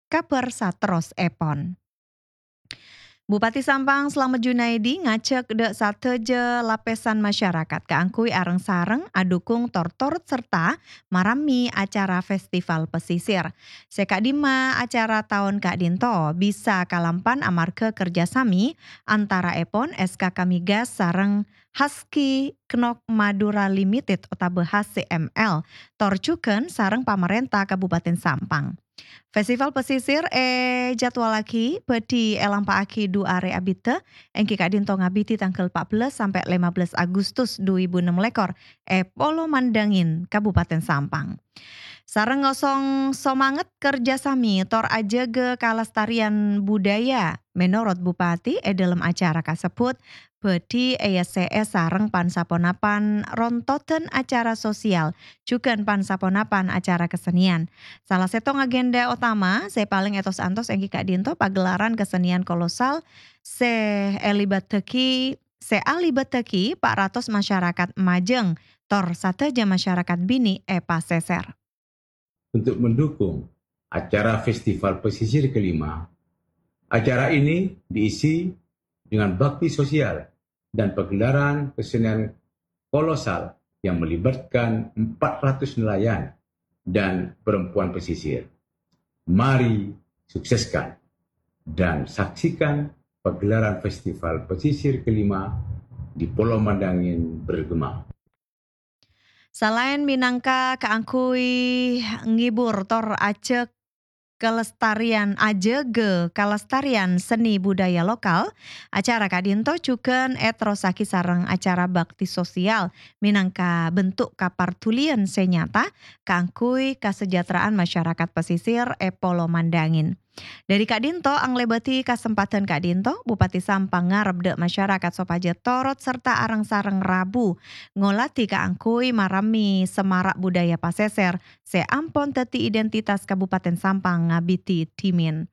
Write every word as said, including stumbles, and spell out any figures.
kabhâr saterrossèpon. Bupati Sampang Slamet Junaidi ngajhâk dhâ' sadhâjâ lapèsan masyarakat kaangghuy areng-sareng adhukung tor-, torot sarta marammi acara Festival Pesisir. Sè ka'dimma acara taon ka'dinto bisa kalampan amarghâ kerjasami antara'èpon S K K Migas sareng Husky Knock Madura Limited otabâ H C M L, tor jhughân sareng pamarènta Kabupaten Sampang. Festival Pesisir èjadwalaghi bhâdhi èlampa'aghi du arè abiddhâ, èngghi ka'dinto ngabidi tangghâl empat belas sampè' lima belas Agustus dua ribu enam lekor è Polo Mandangin, Kabupaten Sampang. Sareng ngosong somanget kerjasami tor ajâgâ kalestarian budaya, menorot Bupati, è dhâlem acara kasebbhut bhâdhi èyessè'è sareng pan-saponapan rontodan acara sosial, jhughân pan-saponapan acara kesenian. Sala sèttong agenda otama sè palèng ètos-antos èngghi ka'dinto pagelaran kesenian kolosal sè èlibâtaghi, sè alibâtaghi pa' ratos masyarakat majâng tor sadhâjâ masyarakat binè' è Pasèsèr. Untuk mendukung acara Festival Pesisir kelima, acara ini diisi dengan bakti sosial dan pagelaran kesenian kolosal yang melibatkan empat ratus nelayan dan perempuan pesisir. Mari sukseskan dan saksikan pagelaran Festival Pesisir kelima di Polo Mandangin bergema. Salaèn mènangka kaangghuy ngibur tor ajâk kalestarian, ajâgâ kalestarian seni budaya lokal, acara ka'dinto jhughân èterrossaghi sareng acara bakti sosial mènangka bentuk kapardhuliyân sè nyata kaangghuy kasejahteraan masyarakat pesisir è Polo Mandangin. Dhâri ka'dinto anglèbâdhi kasempadhân ka'dinto, Bupati Sampang ngarep dhâ' masyarakat sopajâ torot sarta areng-sareng rabu ngolatè kaangghuy marammi semara' budaya pasèsèr sè ampon dhâddhi identitas Kabupaten Sampang ngabidi dhimèn.